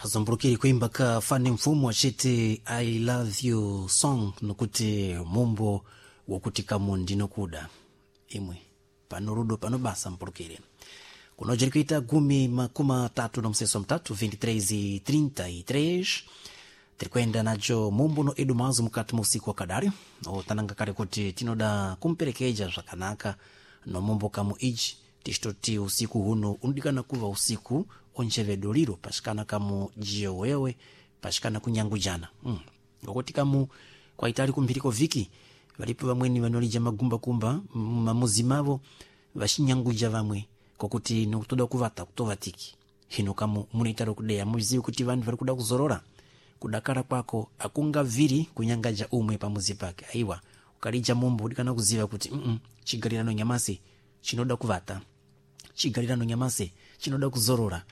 Tazombulukire kuimba ka fani mfumo achiti "I love you" song, nokuti mumbo wokuti kamu ndinokuda imwe. Pano rudo pano basa mpulukire kuno jiri kuita 23:33, 23:33. Tiri kuenda nacho mumbo no edu mazo mukati mu usiku wakadari otananga kale kuti tinoda kumperekeja zvakanaka no mumbo kamu iji, tichitoti usiku huno unodikana kuva usiku onchevedo liro pashikana kamu jiyo wewe pashikana kunyangujana, Ngokuti kamu kwaitali kumphiriko viki valipo vamweni vanolija magumbakumba mamuzi mavo vachinyanguja vamwe kokuti nokutoda kuvata kutovatiki. Hino kamu munoitaro kudeya muzivi kuti vanhu vari kuda kuzorora, kudakara kwako akungaviri kunyangaja umwe pamuzi pake. Aiwa, ukalija mumbo udikana kuziva kuti chigarirano nyamasi chinoda kuvata, chigarirano nyamasi chinoda kuzorora.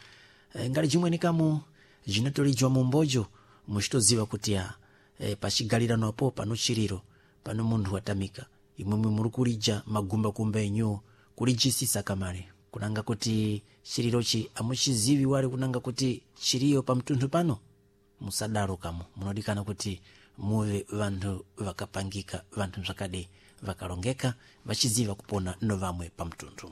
Ngali chimweni kamu zvinatolijwa mumbojo muchitoziva kuti ya pachigarirano apo pano chiriro, pano munthu watamika, imwemwe muri kulija magumbakumba enyu kulijisisa kamale kunanga kuti chirirochi amuchizivi wali kunanga kuti chiriyo pamtunthu pano. Musadaro kamo, munodikana kuti muve vanthu vakapangika, vanthu zvakade vakalongeka, vachiziva kupona no vamwe pamtunthu.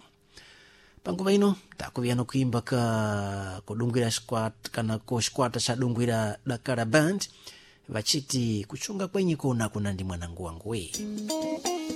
Panguva ino takuviya nokuimba ka kudungwira shikwata kana ko shikwata chadungwira Dakara Band vachiti kuchunga kwenyi kuona kuna ndi mwanangu wangu we.